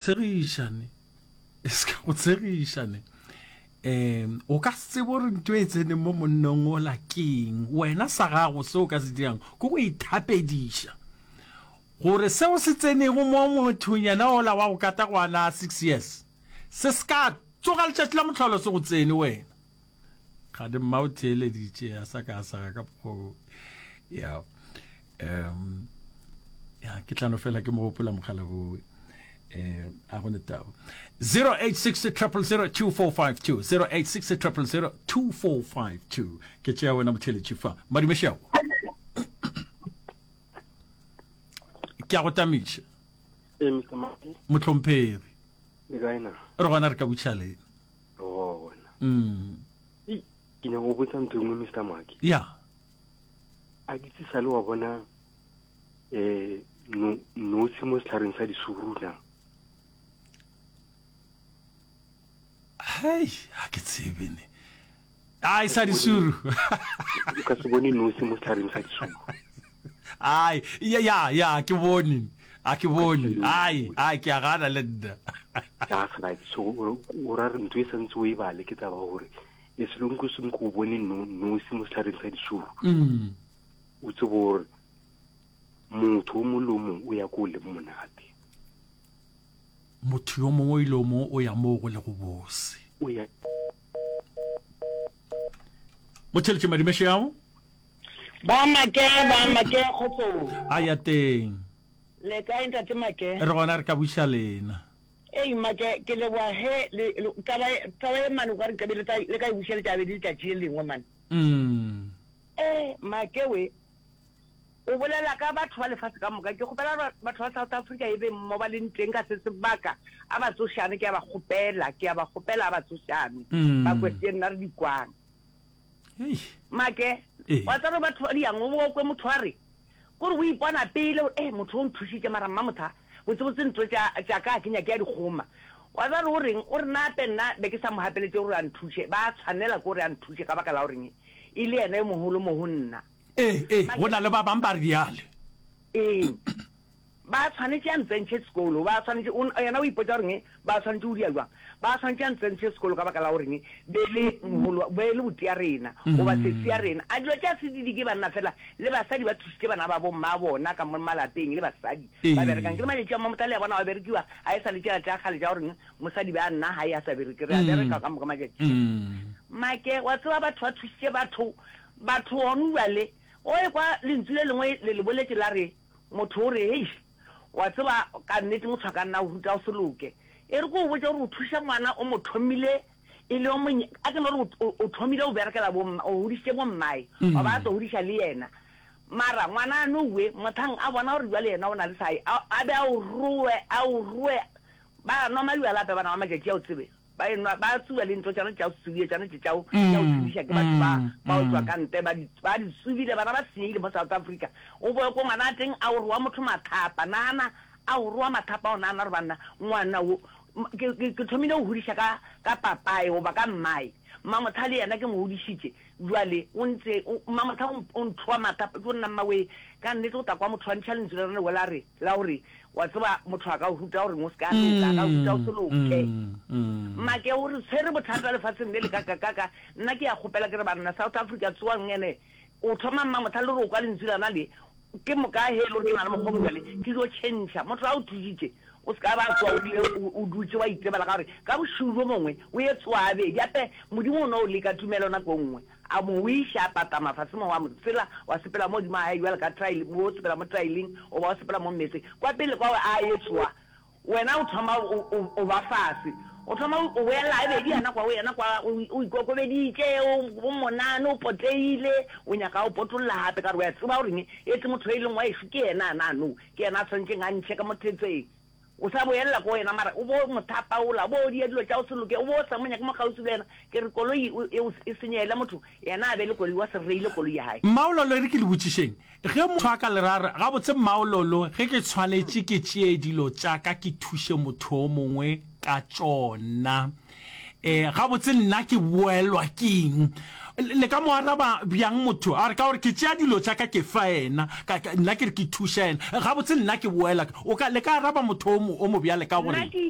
Tshegiša ne. E se ka go tshegiša ne. Um o ka se tsebe gore ntho e tseneng mo monnong ola keng. Wena sa gago se o ka se dirang ke go ithapediša gore seo se tsenego mo mothong yena ola wa go kata gwana a six years se se ka tsoga letšatši la mohlolo se go tsene wena. Kgane mma o theeleditše a sa ka a saga ka mokgwa ya um ya ke tlano fela ke mo gopola mogala bowe um a go ne taba 086 0002452 086 0002452 ke tšea wena motheeletši fa madumešago ke a go tamiša mohlomphegi re gona re ka butšha lena gona mm. ke nyaka go botsa ntho e nngwe mr maki ya a ke tse sale wa bona um notshe mo setlhareng sa disuru na hei ga ke tsebe ne ai sa disuru o ka se bone nosi mo setlhareng sa disuru ai ya ya ya ke bone a ke bone ai ai ke a gana le nna ya gana so o ra re ntho e santse o e bale ke taba gore e selong ko seng ko bone nosi mo setlhareng sa disuru mm. o tsebo gore motho o mongwe le o mongwe o ya ko o leng monate Motho yo mongwe le yo mongwe o ya moo go lego bose. O ya. Motheletše madimešo ao. Ba make, ba make kgotsong. A ya teng. Le kae ntate Make? Re gona re ka buša lena. Ei Make, ke leboga ge le, le, taba, taba ye mane o ka re nkabe le, le ka e bušeletša gabedi letšatši le lengwe mane. Mm. Eh, Make we, O bolela ka batho ba lefase ka moka. Ke kgopela gore batho ba South Africa e be mo ba leng teng ka se sebaka, a ba tsošane, ke a ba kgopela, ke a ba kgopela a ba tsošane, ba kwe tše nna re di kwang. Make, wa tseba gore batho ba diang, o bo kwe motho a re, kore o ipona pele gore, eh, motho o nthušitše mara mmamotha, botsebotse ntho tša, tša ka ga ke nyake a di kgoma. Wa tseba gore o reng? O re nape nna be ke sa mo gapeletše gore a nthuše, ba tshwanela ke gore a nthuše ka baka la goreng e le yena yo mogolo mo go nna. Ee, ee, go na le ba bang ba bjale. Ee, ba tshwanetše a ntsentšhe sekolo, ba tshwanetše, o, yena o ipotša goreng, ba tshwanetše go dia jwang? Ba tshwanetše a ntsentšhe sekolo ka baka la goreng be le mogolo, be le botia rena, goba sesi ya rena. A dilo tša se di ke banna fela, le basadi ba thušitše bana ba bo mma bona ka mo malapeng, le basadi ba berekang. Ke le matšatši a Mmamotha le a bona ba berekiwa, ga e sa le tšela tša kgale tša goreng mosadi be a nna gae a sa bereke, re a bereka ka moka matšatši. Make, wa tseba batho ba thušitše batho Batho gonu bjale, o ekwa lentsu le lengwe le le boletše la re, motho o re, Hei, wa tseba, ka nnete motho a ka nna a go ruta go se loke. E re ke go botše gore o thuša ngwana o mo thomile e le yo monye, a ke no re o, o thomile go berekela bo mma, o godišitše bo mmae, wa ba a tlo godiša le yena. Mara ngwana a no we, mothang a bona gore bjale yena o na le sae, a, a be a o roe, a o roe. Ba nwa mabjala gape bana ba matšatši a o tsebe. Ba enwa, ba tsuba le ntho tšona tša go tsubia, tšona tše tša go, tša go tsubiša ke batho ba, ba go tšwa ka ntle, ba di, ba di tsubile, bana ba senyegile mo South Africa. O boe ko ngwana a teng a o roa motho mathapa, nagana, a o roa mathapa o nagana gore banna, ngwana wo, ke, ke, ke thomile go godiša ka, ka papae goba ka mmae, Mmamotha le yena ke mo godišitše, bjale o ntse, o, Mmamotha o, o nthoa mathapa, jo nna mmawee, ka nnete o tla kwa motho a ntšha lentswe le lengwe la re, la gore, Wa tseba, motho a ka o ruta gore o se ka loka, a ka o ruta o se loke. Make o re tshwere bothata lefatsheng le le kakakaka. Nna ke ya kgopela ke re banna South Africa tsoang ene o thoma mma motlha le gore o kwa lentswe lana le ke moka he le gore ke na le mokgwa bjale ke jo tšhentšha. Motho a o thusitše o se ka ba tsoa o rile o dutše wa itebala ka gore ka bošego bjo bongwe o ye tsoa bedi ape Modimo o no o leka tumelo nako nngwe. A mo wiša, a patama fase mo, wa mo tsela, wa sepela mo godimo ga hae bjalo ka trail, o sepela mo traileng, goba o sepela mo mmetseng. Kwa pele kwa a etšwa, wena o thoma o, o, o ba fase. O thoma o, o boela gabedi yena kwa, o yena kwa, o, o ikokobeditše, o, o monane, o poteile, o nyaka o potolla gape, ka gore o a tseba gore etse motho e leng wa ešo ke yena ana no, ke yena a swanetšeng a ntšhe ka mo thetseng. O sa boelela ko wena mara o bo mo thapaola, o bo o dia dilo tša go se loke, o bo o sa mo nyake mo kgauswi le wena. Ke re koloi e, e senyegele motho, yena a be le koloi, wa se reile koloi ya hae. Mmaololo, e re ke le botšišeng, ge motho a ka le ra re, Gabotse Mmaololo, ge ke tshwanetše ke tšee dilo tša ka ke thuše motho o mongwe ka tšona, e, gabotse nna ke boelwa ke eng? Le ka mo araba bjang motho a re ka gore ke tšea dilo tša ka ke fa yena, ka, ka, nna ke re ke thuša yena, gabotse nna ke boela, o ka, le ka araba motho o mo, o mo bjale ka Nna gore? ke.